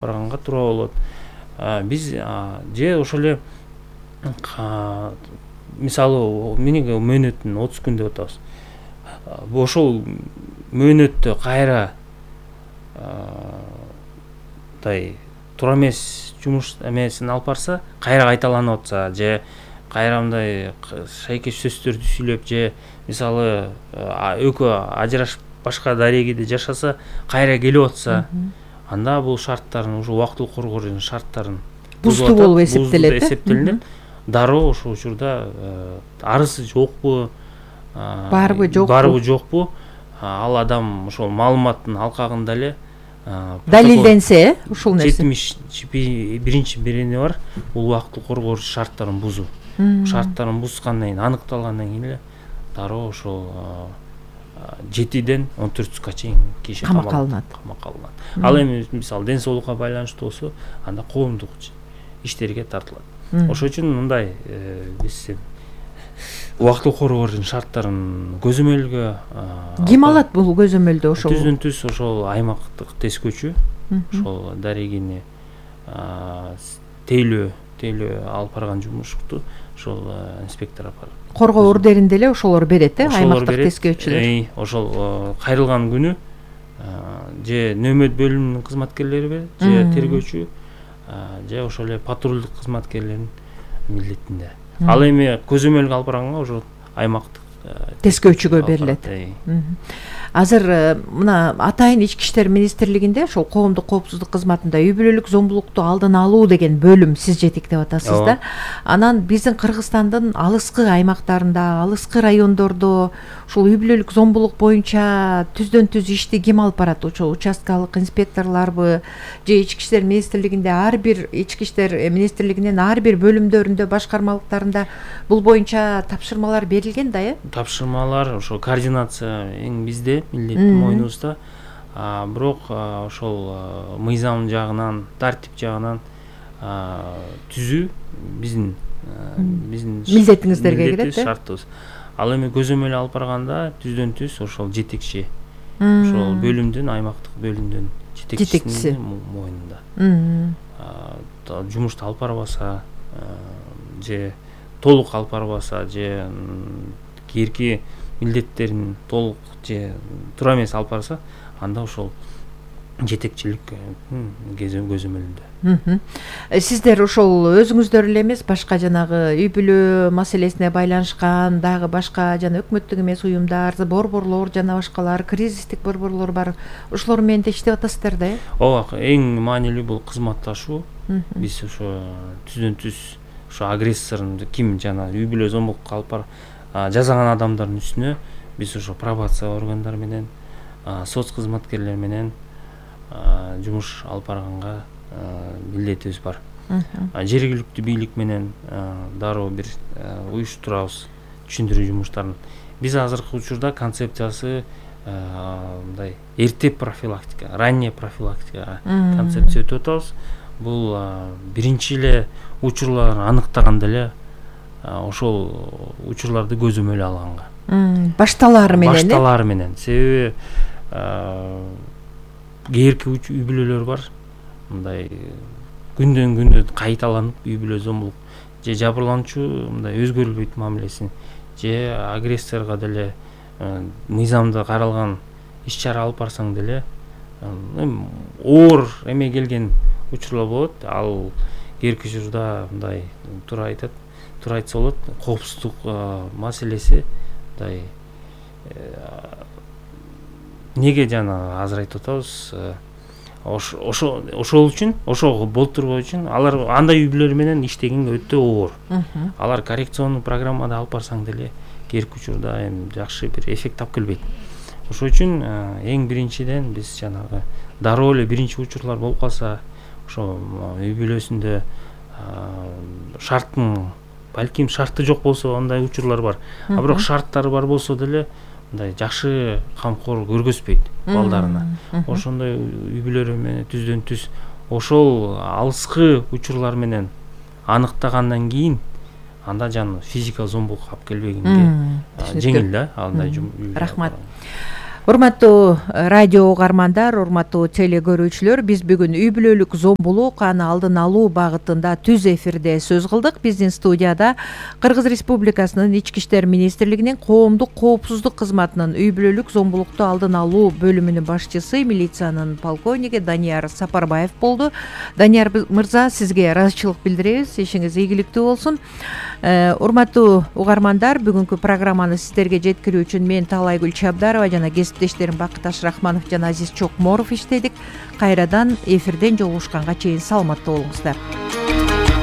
барганга туура болот. Биз же ошол эле мисалы менин мөөнөтүн 30 күн деп атабыз. Ошол мөөнөттө кайра туура эмес жумуш эмесин алып барса, кайра кайталанып атса, же кайра мындай шайкеш сөздөрдү сүйлөп, же мисалы экөө ажырашып башка дарегиде жашаса, кайра келип атса, анда бул шарттарын, ушу убактылык коргоонун шарттарын бузду болуп эсептелет. Дароо ошол учурда арызы жокпу, барбы жокпу, ал адам ошол маалыматтын алкагында эле далилденсе, ушул нерсе 71-чи берени бар. Бул убактылык коргоочу шарттарын бузуу. Шарттарын бузгандан кийин, аныкталгандан кийин эле дароо ошол 7-ден 14 сутка чейин киши камакка алынат. Ал эми мисалы ден соолукка байланыштуу болсо, анда коомдук иштерге тартылат. Ошол үчүн мындай биз убактылык коргоочу шарттарын көзөмөлгө ким алат бул көзөмөлдү? Ошол түздөн-түз ошол аймактык тескөөчү, ошол дарегини тейлөө алып барган жумушту ошол инспектор алып барат. Коргоо ордеринде эле ошолор берет, аймактык тескөөчүлөр. Ошол кайрылган күнү же нөөмөт бөлүмүнүн кызматкерлери берет, же тергөөчү, же ошол эле патрулдук кызматкерлердин милдетинде. Ал эми көзөмөлгө алып барганга ошол аймактык тескөөчүгө берилет. Азыр мына атайын ички иштер министрлигинде ошол коомдук коопсуздук кызматында үй бүлөлүк зомбулукту алдын алуу деген бөлүм сиз жетектеп атасыз да. Анан биздин Кыргызстандын алыскы аймактарында, алыскы райондордо ушул үй бүлөлүк зомбулук боюнча түздөн-түз ишти ким алып барат? Ошол участкалык инспекторлорбу же ички иштер министрлигинде ар бир ички иштер министрлигинин ар бир бөлүмдөрүндө, башкармалыктарында бул боюнча тапшырмалар берилген да, Тапшырмалар ошол координация эң бизде милдеттин мойнубузда. Бирок ошол мыйзам жагынан, тартип жагынан түзүү биздин милдетиңиздерге кирет, шартыбыз. Ал эми көзөмөл алып барганда түздөн-түз ошол жетекчи, ошол бөлүмдүн, аймактык бөлүмдүн жетекчисинин мойнунда. Жумушту алып барбаса, же толук алып барбаса, же кийинки милдеттерин толук же туура эмес алып барса, анда ошол жетекчилик көзөмөлүндө. Сиздер ошол өзүңүздөр эле эмес, башка жанагы үй бүлө маселесине байланышкан дагы башка жана өкмөттүк эмес уюмдар, борборлор жана башкалар, кризистик борборлор бар. Ошолор менен да иштеп атасыздар да, Ооба, эң маанилүү бул кызматташуу. Биз ошо түздөн-түз ошо агрессорун ким жана үй бүлө зомбулукка алып жазаган адамдардын үстүнө биз ошо пробация органдары менен, соц кызматкерлер менен жумуш алып барганга милдетибиз бар. Жергиликтүү бийлик менен дароо бир уюштурабыз түшүндүрүү жумуштарын. Биз азыркы учурда концепциясы мындай эрте профилактика, ранняя профилактика концепция өтүп атабыз. Бул биринчи эле учурларын аныктаганда эле ошол учурларды көзөмөл алганга. Башталары менен. Себеби кээрки үй бүлөлөр бар. Мындай күндөн күндө кайталанып үй бүлө зомбулук же жабырлануучу мындай өзгөрүлбөйт мамилесин, же агрессорго деле мыйзамда каралган иш-чара алып барсаң деле оор эме келген учурлар болот. Ал кээрки учурда мындай туура айтса болот, коопсуздук маселеси мындай неге жана азыр айтып атабыз, ошол үчүн, ошого болтурбоо үчүн алар андай үй бүлөлөр менен иштегенге өтө оор. Алар коррекционный программада алып барсаң деле кээрки учурда эми жакшы бир эффект тап келбейт. Ошол үчүн эң биринчиден биз жанагы дароо эле биринчи учурлар болуп калса, ошо үй бүлөсүндө шарттын, балким шарты жок болсо андай учурлар бар. Бирок шарттары бар болсо деле мындай жакшы камкор көргөзбөйт балдарына. Ошондой үй бүлөлөр менен түздөн-түз ошол алыскы учурлар менен аныктагандан кийин анда жана физикалык зомбулукка алып келбегенге жеңил да андай. Рахмат. Урматтуу радио угармандар, урматтуу теле көрүүчүлөр, биз бүгүн үй бүлөлүк зомбулук, аны алдын алуу багытында түз эфирде сөз кылдык. Биздин студияда Кыргыз Республикасынын Ички иштер министрлигинин коомдук коопсуздук кызматынын үй бүлөлүк зомбулукту алдын алуу бөлүмүнүн башчысы, милициянын полковниги Данияр Сапарбаев болду. Данияр мырза, сизге ыраазычылык билдиребиз. Ишиңиз ийгиликтүү болсун. Урматтуу угармандар, бүгүнкү программаны сиздерге жеткирүү үчүн мен Таалайгүл Чабдарова жана кесиптештерим Бакыташ Рахманов жана Азиз Чокморов иштедик. Кайрадан эфирден жолугушканга чейин саламатта болуңуздар.